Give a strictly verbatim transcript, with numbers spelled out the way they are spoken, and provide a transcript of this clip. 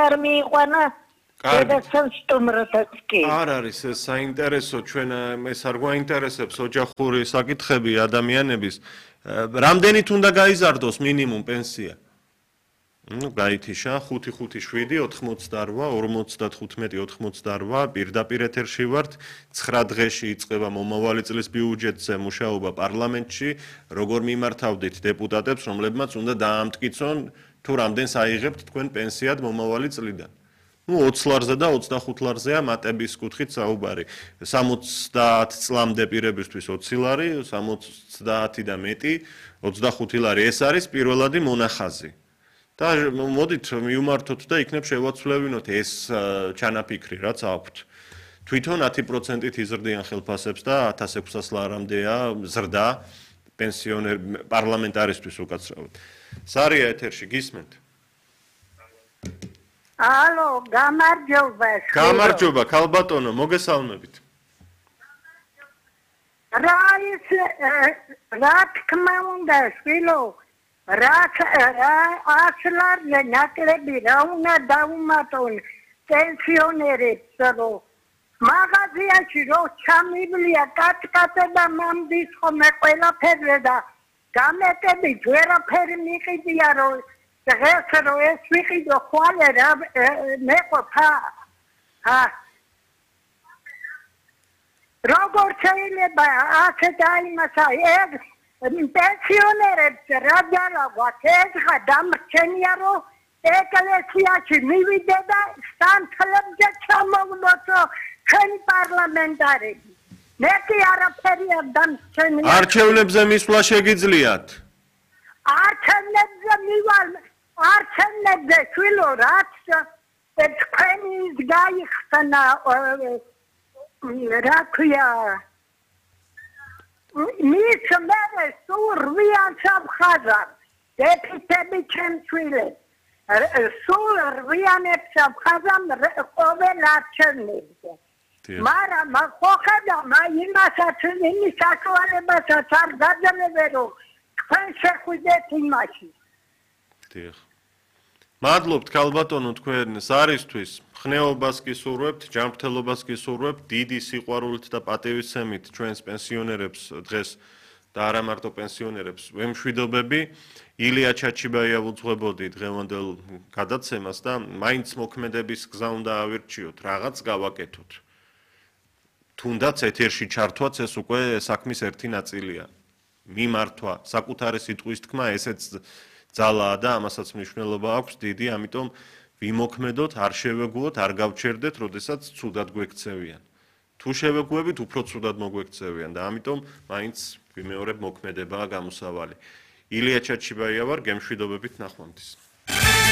არ მიიყვანა კარგი. სტუმრობაც კი. არ არის ეს საინტერესო ჩვენ ეს არ გვაინტერესებს ოჯახური საკითხები ადამიანების რამდენით უნდა გაიზარდოს მინიმუმ პენსია? ну გაითიშა ხუთი ხუთი შვიდი ოთხმოცდაორვა ორმოცდათხუთმეტი ოთხმოცდაორვა პირდაპირ ეთერში ვართ ცხრა დღეში იწყება მომავალი წლის ბიუჯეტზე მუშაობა პარლამენტში როგორ მიმართავდით დეპუტატებს რომლებმაც უნდა დაამტკიცონ თუ რამდენს აიღებთ თქვენ პენსიად მომავალი წლიდან ну ოცი ლარზე და ოცდახუთ ლარზეა მატების კუთხით საუბარი სამოცდაათ წლამდე პირებისთვის ოცი ლარი სამოცდაათი და მეტი ოცდახუთი ლარი ეს არის პირველადი მონახაზი და მოდით მივმართოთ და იქნებ შევაცვლევინოთ ეს ჩანაფიქრი რაც აქვთ თვითონ ათი პროცენტით იზრდიან ხელფასებს და ათას ექვსას ლარამდეა ზრდა პენსიონერ პარლამენტარისთვის უკაცრავად სარია ეთერში გისმენთ ალო გამარჯობა გამარჯობა ქალბატონო მოგესალმებით რა ის რა თქმა უნდა შვილო რაც ასლარზე ნაკლები რა უნდა დაუმატონ პენსიონერებს რომ მაღაზიაში რო ჩამიბლია კატკატა და მამდის ხომე ყველაფერზე და გამეტებით ვერაფერი მიყიდია რომ დღეს რო ეს ვიყიდო ხვალე რა მეყოფა როგორ შეიძლება ასე დაიმასა ეგ პენსიონერებს რა ძალაგვათ ეხა დამრჩენია რომ ეკლესიაში მივიდე და სანთლებზე ჩამოვლოცო ჩვენი პარლამენტარები მეტი არაფერი არ დამრჩენია არჩევნებზე მისვლა შეგიძლიათ არჩევნებზე მივალ არჩევნებზე შვილო რაც თქვენი გაიხსნა რა ქვია მის მერე სულ რვიან სამხაზარ დეფიციტები ჩემცვილებს სულ რვიანებს სამხაზარ ყოველ არჩევნებზე მაგრამ ხო ხედა იმასაც იმის საშუალებასაც არ გაძლევ რომ თქვენ შეხვიდეთ იმაში დიახ მადლობთ ქალბატონო თქვენ ზარისთვის ხნეობას გისურვებთ ჯანმრთელობას გისურვებთ დიდი სიყვარულით და პატივისცემით ჩვენს პენსიონერებს დღეს და არა მარტო პენსიონერებს ვემშვიდობები ილია ჩაჩიბაია ვუძღვებოდი დღევანდელ გადაცემას და მაინც მოქმედების გზა უნდა ავირჩიოთ რაღაც გავაკეთოთ თუნდაც ეთერში ჩართვაც ეს უკვე საქმის ერთი ნაწილია მიმართვა საკუთარი სიტყვის თქმა ესეც ძალაა და ამასაც მნიშვნელობა აქვს დიდი ამიტომ ვიმოქმედოთ არ შევეგუოთ არ გავჩერდეთ როდესაც ცუდად გვექცევიან თუ შევეგუებით უფრო ცუდად მოგვექცევიან და ამიტომ მაინც ვიმეორებ მოქმედებაა გამოსავალი ილია ჩაჩიბაია ვარ გემშვიდობებით ნახვამდის